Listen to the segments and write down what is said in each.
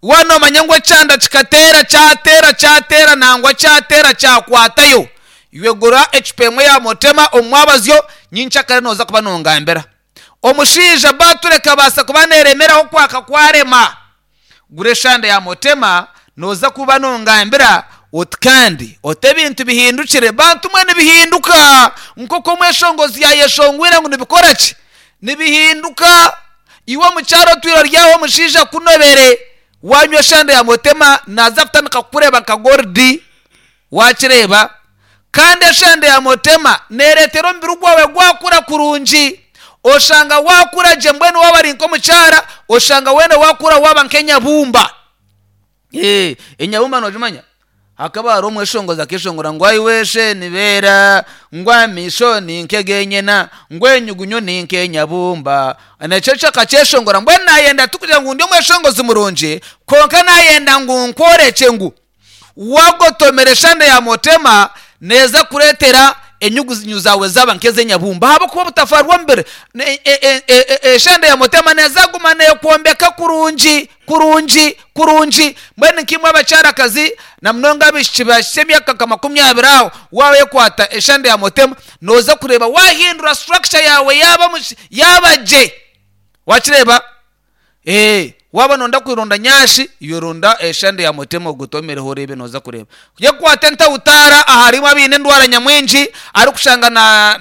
Waaba noomanya ngu ekyanda kikateera, kyateera, kyateera nangwa kyateera kyakwatayo, iwe gura ecupa emwe ya Motema omu mwabazyo, nyenkyakare nooza kuba nongambira. Omushaija baatura ekabaasa kuba neeremeraho kwaka kwarema. Gura eshande ya Motema nooza kuba nongambira oti kandi oti ebintu bihindukire. Bantu mwe nibihinduka nk'oku omweshongozi yaayeshongwire ngu nibikora ki? Nibihinduka. Iwe omukyara otwire ori aho omushaija akunobere, waanywa eshande ya Motema naaza kutandika kukureeba nka goridi. Waakireeba? Kandi eshande ya Motema neereetera omubiri gwawe gwakura kurungi. Oshanga waakura gye mbwenu waaba ori nk'omukyara, oshanga weena waakura waaba nk'enyabumba. Ee, enyabumba noogimanya? Hakaba hariho omweshongozi akeeshongora ngu aiwe shenibeera, ngu amaisho ni nk'eg'enyena, ngu enyugunyu ni nk'enyabumba. Nekyo ekyo akakyeshongora. Mbwenu naayenda tikugira ngu ndi omweshongozi murungi, kwonka naayenda ngu nkworekye ngu Wagotomera eshande ya Motema neeza kureetera enyugunyu zaawe zaaba nk'ez'enyabumba ahabw'okuba obutafaari bw'omubiri eshande ya Motema neeza kuguma neekwombeka kurungi kurungi kurungi. Mbwenu nkaimwe abakyarakazi na munonga abaishiki bahikire emyaka nka makumyabiri aho, waaba oyekwata eshande ya Motema nooza kureeba waahindura structure yaawe yaaba gye. Waakireeba? Ee, waaba nooyenda kwironda nyashi, iwe ronda eshande ya Mutema ogotomereho oreebe nooza kureeba. Yekwate entautaara aharimu abaine endwara nyamwingi arikushanga na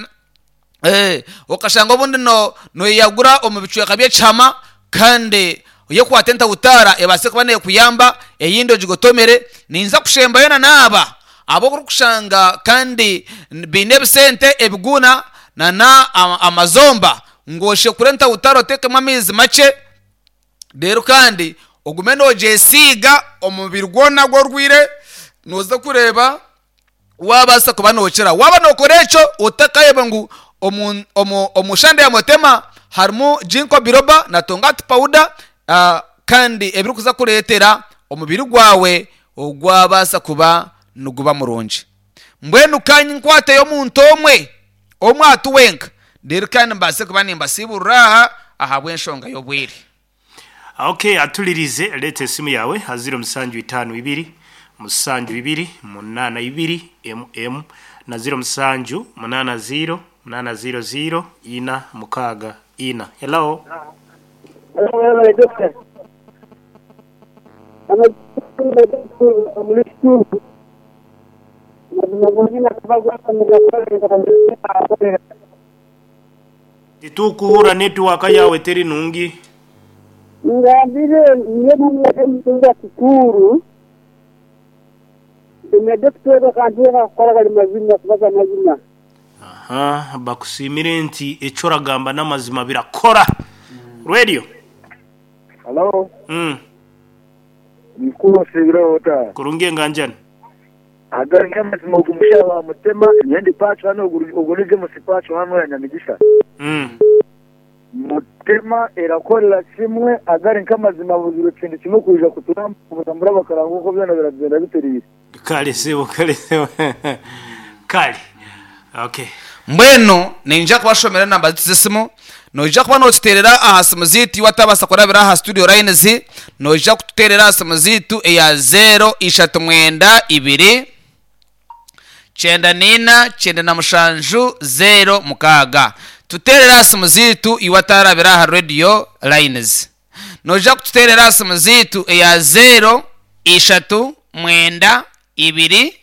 ee, okashanga obundi no noyeyagura omu bicweka by'ekihama kandi yekwate entautaara ebaase kuba neekuyamba eyindi ogigotomere. Ninza kushembayo na n'aba abu orikushanga kandi baine ebisente ebiguuna na amazomba ngu oshekure entautaro oteekemu amaizi makye, reero kandi ogume noogyesiiga omubiri gwona ogu orwaire, nooza kureeba waabaasa kuba nookira. Waaba nookora ekyo otakayeba ngu omu omu omu shande ya Motema harimu Ginkgo biloba na Tongati powder kandi ebirikuza kureetera omubiri gwawe gwabaasa kuba niguba murungi. Mbwenu ka nkwateyo omuntu omwe omwe ati wenka, reero kandi mbaase kuba nimbasiiburira aha ahabw'enshonga y'obwire. Ok atulirize leeta esimu yawe ha ziro musanju itaano ibiri musanju ibiri munaana ibiri emu emu na ziro musanju munaana ziro munaana ziro ziro ina mukaaga ina. Hello. Hello webale doctor. Titukuhurra network yaawe teri nungi. Ngambire nyowe omutunga kikuru na dokita ogu akanteera kukora gari mazima kubaza amazima. Aha bakusiimire nti eki oragamba n'amazima birakora. Radio. Halo. Mukuru osiibireho ota? Kurungi enganjani. Agari nk'amazima ogu mushaho wa Mutema nyowe ndi pacho hanu ogu ni James pacho hanu oya Nyamigisha. Mutema erakorera kimwe agari nk'amazima buzire kintu kimwe kwija kuturambura bakaranga oku byona biragyenda bitereire. Kale sebo kale sebo kale okay. Mbwenu niinyija kubashomera enamba zaitu z'esimu. Noija kuba nootuteerera aha simu zaitu iwe atabaasa kurabira aha studio lines, noija kututeerera aha simu zaitu eya zeero ishatu mwenda ibiri, kyenda naina, kyenda na mushanju, zeero mukaaga. Tuteerere aha simu zaitu iwe atarabira aha radio lines. Noija kututeerera aha simu zaitu eya zeero ishatu mwenda ibiri,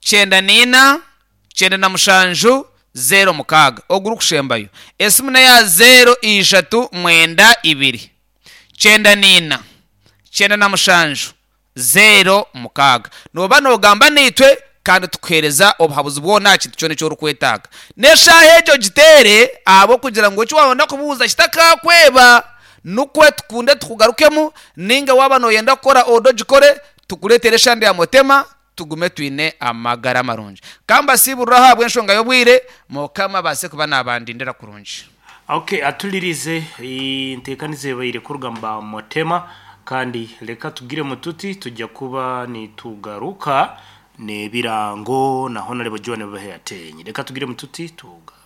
Kyenda na ina, kyenda na mushanju, zeero mukaaga. Ogurikushembayo. Esimu n'eya zeero ishatu mwenda ibiri, kyenda na ina, kyenda na mushanju, zeero mukaaga. Nooba noogamba naitwe kandi tukuheereza obuhabuzi bwona aha kintu kyona eki orikwetaaga. N'eshaaha egyo ogiteere ahabw'okugira ngu eki waayenda kubuuza kitakakweba, nikwo tukunde tukugarukemu, nainga waaba nooyenda kukora oda ogikore, tukureetere eshande ya Mutema. Tugume twine amagara marungi. Ka mbasiiburire ahabw'enshonga y'obwire, Mukama abaase kuba naabandindira kurungi. Ok atulirize enteekaniza ebaire kuruga mu ba Motema kandi leka tugiremu tuti tujja kuba nitugaruka n'ebirango na Honarebo John Baheatenyi. Leka tugiremu tuti tugaruke.